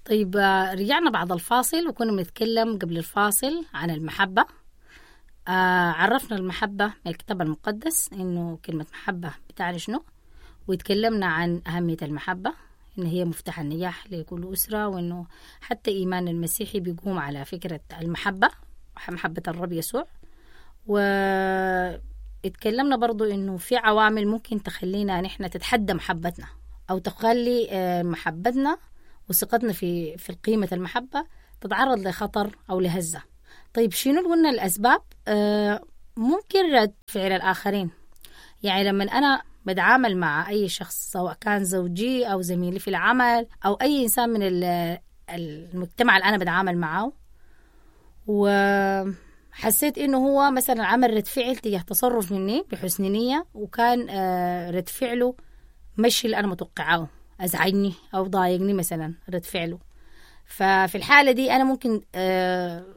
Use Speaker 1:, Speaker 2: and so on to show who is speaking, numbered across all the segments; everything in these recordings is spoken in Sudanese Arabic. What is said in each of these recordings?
Speaker 1: طيب، رجعنا بعد الفاصل وكنا بنتكلم قبل الفاصل عن المحبة. عرفنا المحبة من الكتاب المقدس، إنه كلمة محبة بتعني شنو، وتكلمنا عن أهمية المحبة، إن هي مفتاح النجاح لكل أسرة، وإنه حتى إيمان المسيحي بيقوم على فكرة المحبة، محبة الرب يسوع. واتكلمنا برضو إنه في عوامل ممكن تخلينا نحن تتحدى محبتنا، أو تخلي محبتنا وثقتنا في قيمة المحبة تتعرض لخطر أو لهزة. طيب شنو قلنا الأسباب؟ ممكن رد فعل الآخرين. يعني لما أنا بتعامل مع أي شخص، سواء كان زوجي أو زميلي في العمل أو أي إنسان من المجتمع اللي أنا بتعامل معه، وحسيت إنه هو مثلا عمل رد فعل تجاه تصرف مني بحسن نية، وكان رد فعله مش اللي أنا متوقعاه، أزعجني أو ضايقني مثلا رد فعله. ففي الحالة دي أنا ممكن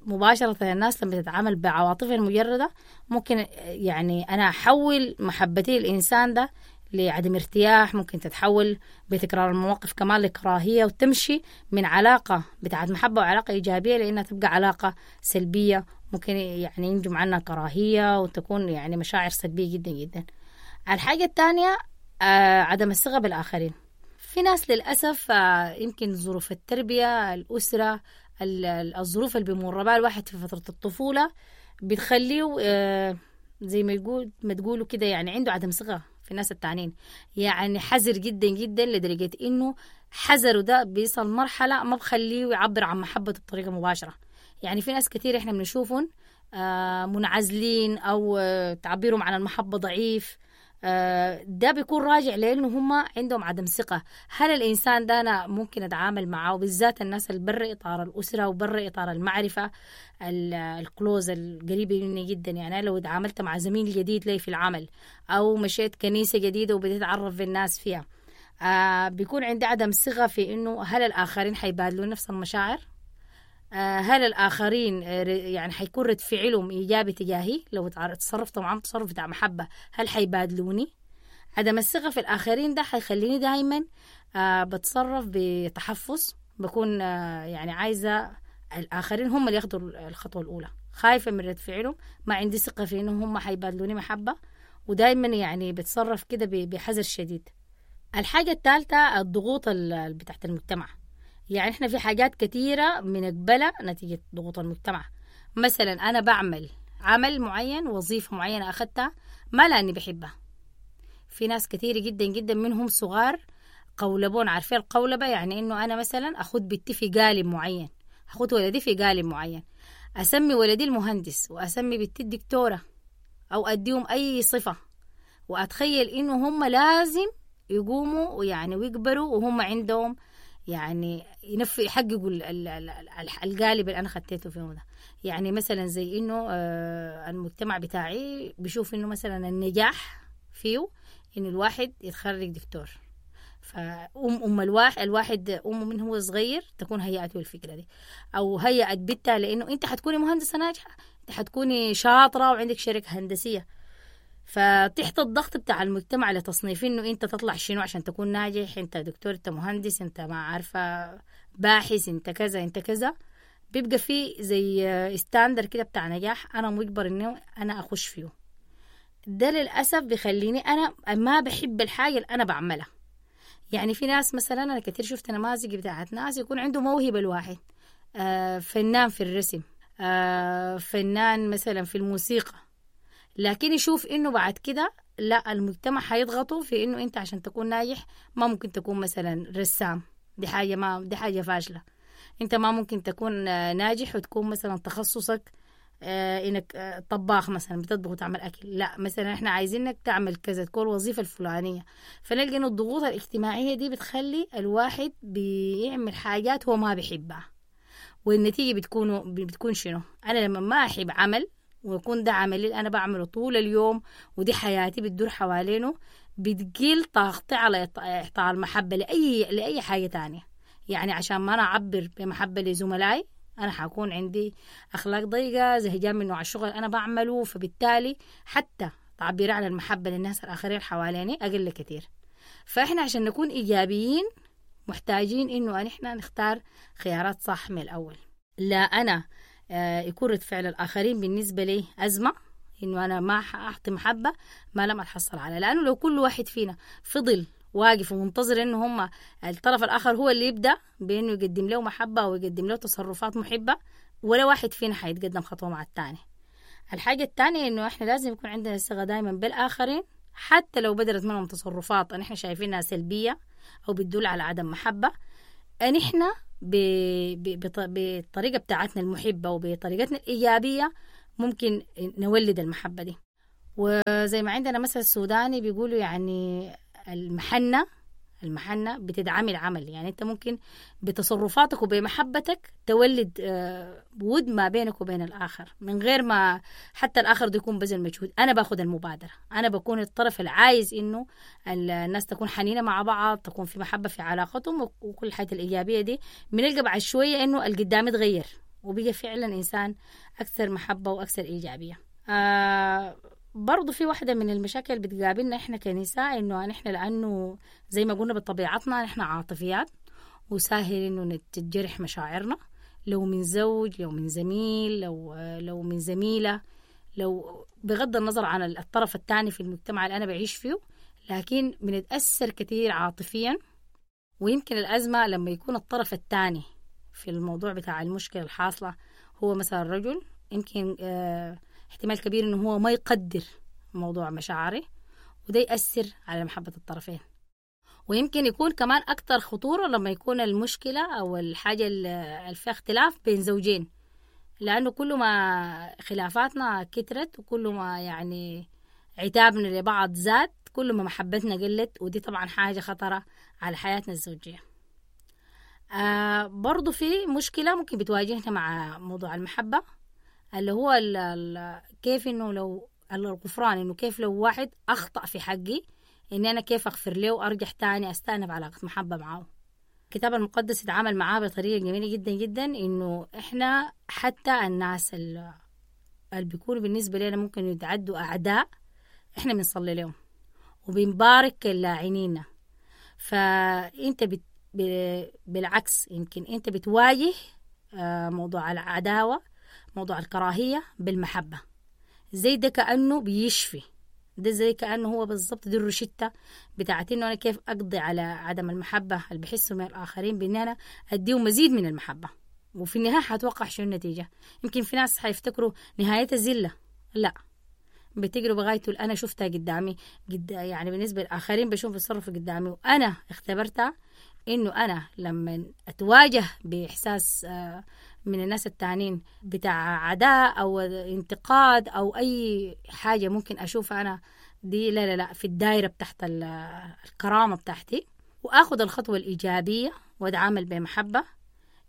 Speaker 1: مباشرة الناس لما تتعامل بعواطفها المجردة، ممكن يعني أنا أحول محبتي للإنسان ده لعدم ارتياح، ممكن تتحول بتكرار المواقف كمان لكراهية، وتمشي من علاقة بتاعت محبة وعلاقة إيجابية لأنها تبقى علاقة سلبية، ممكن يعني ينجم عنها كراهية وتكون يعني مشاعر سلبية جدا جدا. الحاجة الثانية عدم الثقة بالآخرين. في ناس للأسف يمكن ظروف التربية، الأسرة، الظروف اللي بيمر بها الواحد في فترة الطفولة بتخليه زي ما يقول ما تقولوا كده، يعني عنده عدم ثقة في الناس التانيين، يعني حذر جدا جدا لدرجة إنه حذره ده بيصل مرحلة ما بخليه يعبر عن محبته بطريقة مباشرة. يعني في ناس كتير إحنا بنشوفهم منعزلين أو تعبيرهم عن المحبة ضعيف، ده بيكون راجع لأنه هم عندهم عدم ثقة. هل الإنسان ده أنا ممكن أتعامل معه؟ بالذات الناس اللي برا إطار الأسرة وبرا إطار المعرفة الكلوز القريبة مني جدا. يعني أنا لو تعاملت مع زميل جديد لي في العمل أو مشيت كنيسة جديدة وبديت أتعرف بالناس فيها، بيكون عندي عدم ثقة في إنه هل الآخرين حيبادلون نفس المشاعر؟ هل الآخرين يعني حيكون رد فعلهم إيجابي تجاهي لو تصرفت معهم تصرف بتاع محبة؟ هل حيبادلوني؟ عدم الثقة في الآخرين ده حيخليني دايما بتصرف بتحفظ، بكون يعني عايزة الآخرين هم اللي ياخدوا الخطوة الأولى، خايفة من رد فعلهم، ما عندي ثقة في إنه هم حيبادلوني محبة، ودايما يعني بتصرف كده بحذر شديد. الحاجة الثالثة الضغوط بتاعت المجتمع. يعني إحنا في حاجات كثيرة بنقبلها نتيجة ضغوط المجتمع. مثلا أنا بعمل عمل معين، وظيفة معينة أخذتها ما لأني بحبها. في ناس كثيرة جدا جدا منهم صغار قولبون، عارفين القولبة؟ يعني إنه أنا مثلا أخذ بنتي في قالب معين، أخذ ولدي في قالب معين، أسمي ولدي المهندس وأسمي بنتي الدكتورة، أو أديهم أي صفة، وأتخيل إنه هم لازم يقوموا يعني ويكبروا وهم عندهم يعني يحققوا القالب اللي أنا خدته فيهم ده. يعني مثلا زي إنه المجتمع بتاعي بيشوف إنه مثلا النجاح فيه إنه الواحد يتخرج دكتور، فأم الواحد أمه من هو صغير تكون هيأته الفكرة دي، أو هيأت بنتها لأنه أنت حتكوني مهندسة ناجحة، أنت حتكوني شاطرة وعندك شركة هندسية. فتحت الضغط بتاع المجتمع لتصنيف إنه أنت تطلع شنو عشان تكون ناجح، أنت دكتور، أنت مهندس، أنت ما عارفة باحث، أنت كذا أنت كذا، بيبقى في زي ستاندر كده بتاع نجاح أنا مجبر إنه أنا أخش فيه. ده للأسف بيخليني أنا ما بحب الحاجة اللي أنا بعملها. يعني في ناس مثلا أنا كتير شفت نماذج بتاعت ناس يكون عنده موهبة، الواحد فنان في الرسم، فنان مثلا في الموسيقى، لكن يشوف إنه بعد كده لا، المجتمع حيضغطه في إنه أنت عشان تكون ناجح ما ممكن تكون مثلا رسام، دي حاجة ما دي حاجة فاشلة، أنت ما ممكن تكون ناجح وتكون مثلا تخصصك إنك طباخ مثلا بتطبخ وتعمل أكل، لا مثلا إحنا عايزينك تعمل كذا، تكون الوظيفة الفلانية. فنلقى إنه الضغوط الاجتماعية دي بتخلي الواحد بيعمل حاجات هو ما بيحبها، والنتيجة بتكون شنو؟ أنا لما ما أحب عمل ويكون ده عملي اللي أنا بعمله طول اليوم ودي حياتي بتدور حوالينه، بتقل طاقتي على إعطاء المحبة لأي حاجة تانية. يعني عشان ما أنا أعبر بمحبة لزملائي أنا حكون عندي أخلاق ضيقة، زهجان من نوع الشغل أنا بعمله، فبالتالي حتى تعبيري عن المحبة للناس الآخرين حواليني أقل كتير. فإحنا عشان نكون إيجابيين محتاجين إنه نحن نختار خيارات صح من الأول. لا أنا يكون رد فعل الآخرين بالنسبة لي أزمة، إنه أنا ما أعطي محبة ما لم أتحصل عليها، لأنه لو كل واحد فينا فضل واقف ومنتظر إنه هم الطرف الآخر هو اللي يبدأ بإنه يقدم له محبة ويقدم له تصرفات محبة، ولا واحد فينا حيتقدم خطوة مع الثاني. الحاجة الثانية إنه إحنا لازم يكون عندنا ثقة دائما بالآخرين، حتى لو بدرت منهم تصرفات نحن شايفينها سلبية أو بتدل على عدم محبة، نحن بالطريقة بتاعتنا المحبة وبطريقتنا الإيجابية ممكن نولد المحبة دي. وزي ما عندنا مثل سوداني بيقولوا يعني المحنة بتدعم العمل، يعني أنت ممكن بتصرفاتك وبمحبتك تولد ود ما بينك وبين الآخر من غير ما حتى الآخر ده يكون بذل مجهود. أنا باخد المبادرة، أنا بكون الطرف العايز إنه الناس تكون حنينة مع بعض، تكون في محبة في علاقتهم، وكل الحياة الإيجابية دي بنلقى بعد شوية إنه القدام اتغير وبقى فعلا إنسان أكثر محبة وأكثر إيجابية. برضو في واحدة من المشاكل اللي بتقابلنا إحنا كنساء، إنه نحن لأنه زي ما قلنا بطبيعتنا نحن عاطفيات، وسهل إنه تتجرح مشاعرنا، لو من زوج، لو من زميل، لو من زميلة، لو بغض النظر عن الطرف الثاني في المجتمع اللي أنا بعيش فيه، لكن بنتأثر كثير عاطفيا. ويمكن الأزمة لما يكون الطرف الثاني في الموضوع بتاع المشكلة الحاصلة هو مثلا الرجل، يمكن احتمال كبير إنه هو ما يقدر موضوع مشاعري، وده يأثر على محبة الطرفين. ويمكن يكون كمان أكتر خطورة لما يكون المشكلة أو الحاجة اللي فيها اختلاف بين زوجين، لأنه كل ما خلافاتنا كترت وكل ما يعني عتابنا لبعض زاد، كل ما محبتنا قلت، ودي طبعا حاجة خطرة على حياتنا الزوجية. برضو في مشكلة ممكن بتواجهنا مع موضوع المحبة، اللي هو كيف إنه لو الغفران، إنه كيف لو واحد أخطأ في حقي إني أنا كيف أغفر له وأرجع تاني أستأنف علاقة محبة معه. الكتاب المقدس يتعامل معاه بطريقة جميلة جدا جدا، إنه إحنا حتى الناس اللي بيكونوا بالنسبة لنا ممكن يتعدوا أعداء، إحنا بنصلي لهم وبنبارك لاعنينا. فأنت بالعكس يمكن أنت بتواجه موضوع العداوة، موضوع الكراهية بالمحبة. زي ده كأنه بيشفي، ده زي كأنه هو بالضبط دي الروشتة بتاعت إنه أنا كيف أقضي على عدم المحبة اللي بحسه من الآخرين، بإن أنا أديهم مزيد من المحبة. وفي النهاية حتوقع شنو النتيجة؟ يمكن في ناس حيفتكروا نهايتها زلة، لا، بتجربة غايته اللي أنا شفتها قدامي يعني بالنسبة للآخرين بشوف بيتصرفوا قدامي، وأنا اختبرتها إنه أنا لما أتواجه بإحساس من الناس التانين بتاع عداء أو انتقاد أو أي حاجة ممكن أشوفها أنا دي لا لا لا في الدائرة بتاعت الكرامة بتاعتي، وأخذ الخطوة الإيجابية وأتعامل بمحبة.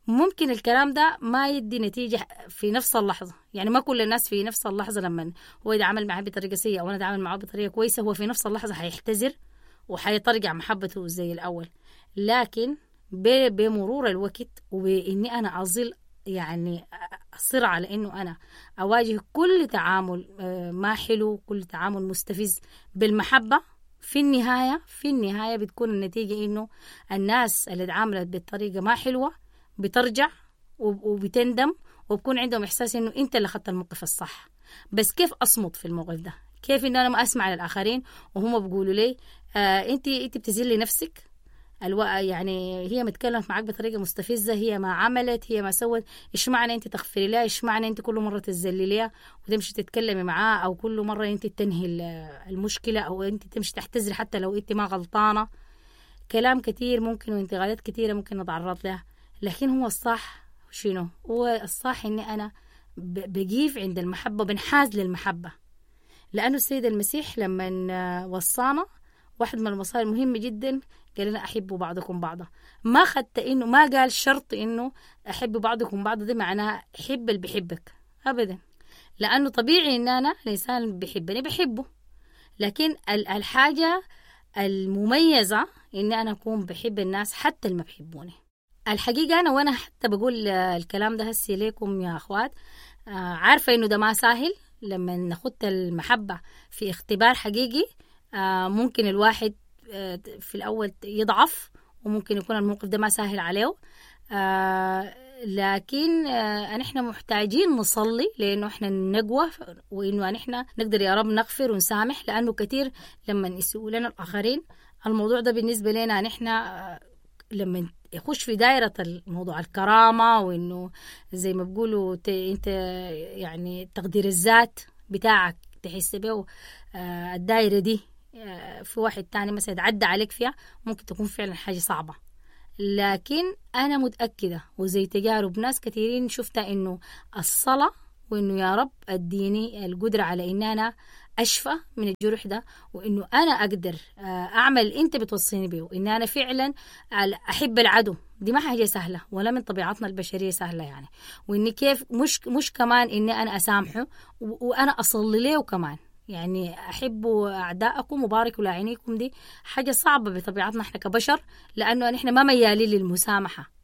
Speaker 1: ممكن الكلام ده ما يدي نتيجة في نفس اللحظة، يعني ما كل الناس في نفس اللحظة لما هو يتعامل معاه بطريقة سيئة أو أنا أتعامل معاه بطريقة كويسة هو في نفس اللحظة حيحتذر وحيترجع محبته زي الأول. لكن بمرور الوقت وبإني أنا أظل يعني أصر على إنه أنا أواجه كل تعامل ما حلو، كل تعامل مستفز بالمحبة، في النهاية بتكون النتيجة إنه الناس اللي تعاملت بالطريقة ما حلوة بترجع وبتندم وبكون عندهم إحساس إنه أنت اللي أخذت الموقف الصح. بس كيف أصمت في الموقف ده؟ كيف إنه أنا ما أسمع للآخرين وهم بيقولوا لي أنت بتذلي نفسك، يعني هي متكلمت معاك بطريقة مستفزة، هي ما عملت، هي ما سوت، إيش معنى أنت تغفري لها؟ إيش معنى أنت كل مرة تذلي لها وتمشي تتكلمي معاه، أو كل مرة أنت تنهي المشكلة، أو أنت تمشي تحتذري حتى لو أنت ما غلطانة. كلام كتير ممكن وانتقادات كتيرة ممكن نتعرض لها، لكن هو الصح شنو؟ هو الصح إني أنا بقيف عند المحبة، بنحاز للمحبة. لأنه السيد المسيح لما وصانا واحد من الوصايا المهمة جدا قال لنا أحبوا بعضكم بعضا. ما خدت إنه ما قال شرط إنه أحب بعضكم بعضا، ده معناها حب اللي بيحبك أبدا، لأنه طبيعي إن أنا الإنسان بيحبني بحبه، لكن الحاجة المميزة إن أنا أكون بحب الناس حتى اللي ما بيحبوني. الحقيقة أنا وأنا حتى بقول الكلام ده هسي ليكم يا أخوات، عارفة إنه ده ما سهل. لما ناخد المحبة في اختبار حقيقي ممكن الواحد في الأول يضعف وممكن يكون الموقف ده ما سهل عليه، لكن نحن محتاجين نصلي لأنه إحنا نقوى، وإنه نحن نقدر يا رب نغفر ونسامح، لأنه كثير لما يسيئوا لنا الآخرين الموضوع ده بالنسبة لنا نحن لما يخش في دائرة الموضوع الكرامة، وإنه زي ما بيقولوا أنت يعني تقدير الذات بتاعك تحس به، الدائرة دي في واحد تاني مثلا يتعدى عليك فيها ممكن تكون فعلا حاجة صعبة. لكن أنا متأكدة وزي تجارب ناس كثيرين شفتها إنه الصلاة وإنه يا رب أديني القدرة على إن أنا أشفى من الجرح ده، وإنه أنا أقدر أعمل أنت بتوصيني بيه، وإن أنا فعلا أحب العدو. دي ما حاجة سهلة ولا من طبيعتنا البشرية سهلة يعني، وإني كيف مش كمان إني أنا أسامحه وأنا أصلي له كمان، يعني أحبوا أعداءكم وباركوا لاعينيكم، دي حاجة صعبة بطبيعتنا إحنا كبشر، لأنه نحن ما ميالين للمسامحة،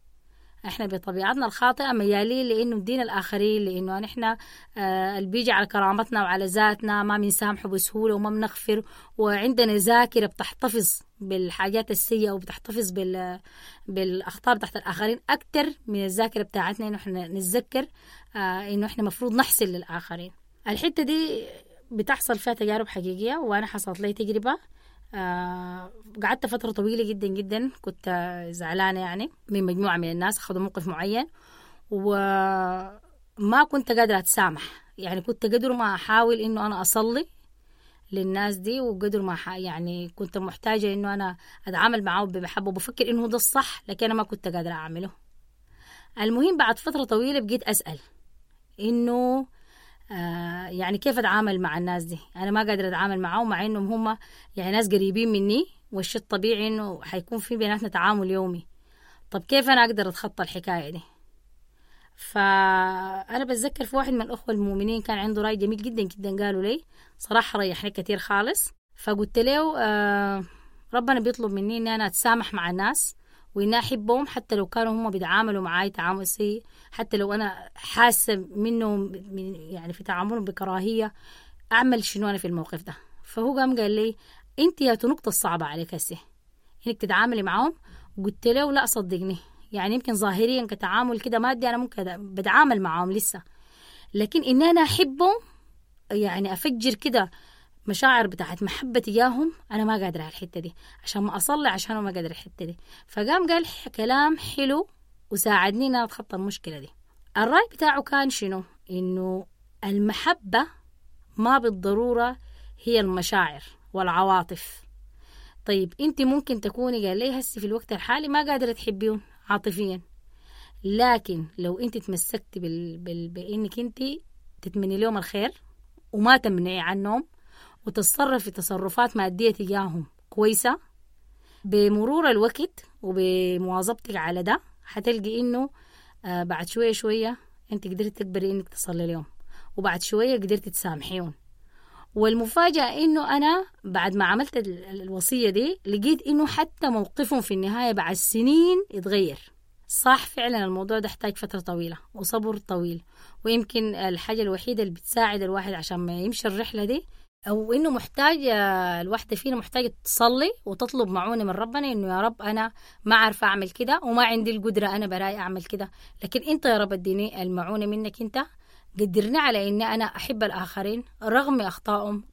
Speaker 1: إحنا بطبيعتنا الخاطئة ميالين لأنه ندين الآخرين، لأنه نحن اللي بيجي على كرامتنا وعلى ذاتنا ما بنسامحه بسهولة وما بنغفر، وعندنا ذاكرة بتحتفظ بالحاجات السيئة وبتحتفظ بالأخطاء بتاعت الآخرين أكتر من الذاكرة بتاعتنا إنه إحنا نتذكر إنه إحنا مفروض نحسن للآخرين. الحتة دي بتحصل فيها تجارب حقيقية، وأنا حصلت لي تجربة، قعدت فترة طويلة جدا جدا كنت زعلانة يعني من مجموعة من الناس أخذوا موقف معين، وما كنت قادرة أتسامح، يعني كنت قدر ما أحاول إنه أنا أصلي للناس دي، وقدر ما يعني كنت محتاجة إنه أنا أتعامل معه بمحبة وبفكر إنه ده الصح، لكن أنا ما كنت قادرة أعمله. المهم بعد فترة طويلة بقيت أسأل إنه يعني كيف أتعامل مع الناس دي، أنا ما قادرة أتعامل معهم مع إنهم هم يعني ناس قريبين مني، والشيء الطبيعي إنه حيكون في بيناتنا تعامل يومي، طب كيف أنا أقدر أتخطى الحكاية دي؟ فأنا بتذكر في واحد من الأخوة المؤمنين كان عنده رأي جميل جدا جدا قالوا لي صراحة ريحني كثير خالص. فقلت له ربنا بيطلب مني إن أنا أتسامح مع الناس وإن أحبهم حتى لو كانوا هم بيتعاملوا معاي تعامل سيء، حتى لو أنا حاسة منهم يعني في تعاملهم بكراهية، أعمل شنو أنا في الموقف ده؟ فهو قام قال لي أنت يا نقطة الصعبة عليك هسه إنك تتعاملي معهم. قلت له لا صدقني، يعني يمكن ظاهريا كتعامل كده مادي أنا ممكن بتعامل معهم لسه، لكن إن أنا أحبهم يعني أفجر كده مشاعر بتاعت محبة تجاههم أنا ما قادرة على الحتة دي، عشان ما أصلي عشان ما قادرة الحتة دي. فقام قال كلام حلو وساعدني إن أنا أتخطى المشكلة دي. الرأي بتاعه كان شنو؟ إنه المحبة ما بالضرورة هي المشاعر والعواطف. طيب أنت ممكن تكوني قال لي هسي في الوقت الحالي ما قادرة تحبيهم عاطفيا، لكن لو أنت تمسكتي بإنك أنت تتمني لهم الخير وما تمنعي عنهم وتتصرفي تصرفات مادية تجاههم كويسة، بمرور الوقت وبمواظبتك على ده حتلقي إنه بعد شوية شوية أنت قدرت تكبري إنك تصلي لهم، وبعد شوية قدرت تسامحيهم. والمفاجأة إنه أنا بعد ما عملت الوصية دي لقيت إنه حتى موقفهم في النهاية بعد سنين اتغير. صح فعلا الموضوع ده احتاج فترة طويلة وصبر طويل، ويمكن الحاجة الوحيدة اللي بتساعد الواحد عشان ما يمشي الرحلة دي أو إنه محتاج الواحدة فينا محتاجة تصلي وتطلب معونة من ربنا إنه يا رب أنا ما عارفة أعمل كده وما عندي القدرة أنا براي أعمل كده، لكن أنت يا رب اديني المعونة منك، أنت قدرني على إني أنا أحب الآخرين رغم أخطائهم،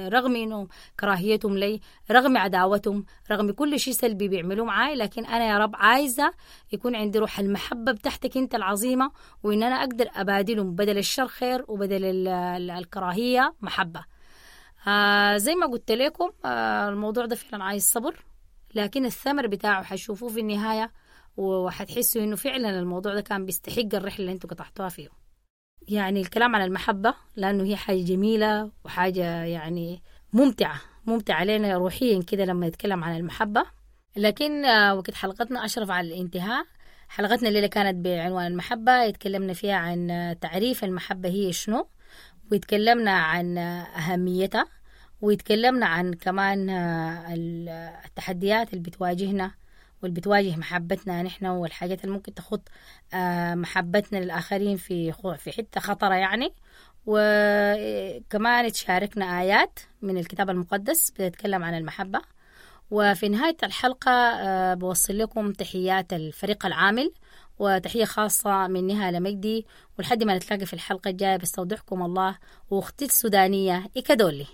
Speaker 1: رغم إنه كراهيتهم لي، رغم عداوتهم، رغم كل شيء سلبي بيعملوه معاي، لكن أنا يا رب عايزة يكون عندي روح المحبة بتاعتك أنت العظيمة، وإن أنا أقدر أبادلهم بدل الشر خير وبدل الكراهية محبة. زي ما قلت لكم الموضوع ده فعلا عايز صبر، لكن الثمر بتاعه حتشوفوه في النهاية، وحتحسوا إنه فعلا الموضوع ده كان بيستحق الرحلة اللي انتوا قطعتوها فيه. يعني الكلام عن المحبة لأنه هي حاجة جميلة وحاجة يعني ممتعة علينا روحيا كده لما نتكلم عن المحبة. لكن وقت حلقتنا أشرف على الانتهاء. حلقتنا الليلة كانت بعنوان المحبة، اتكلمنا فيها عن تعريف المحبة هي شنو، ويتكلمنا عن أهميتها، ويتكلمنا عن كمان التحديات اللي بتواجهنا واللي بتواجه محبتنا نحن، والحاجات اللي ممكن تخط محبتنا للآخرين في حتة خطرة يعني. وكمان تشاركنا آيات من الكتاب المقدس بتتكلم عن المحبة. وفي نهاية الحلقة بوصل لكم تحيات الفريق العامل وتحية خاصة من نهى لمجدي، ولحد ما نتلاقى في الحلقة الجاية بستودعكم الله وأختي السودانية إيكادولي.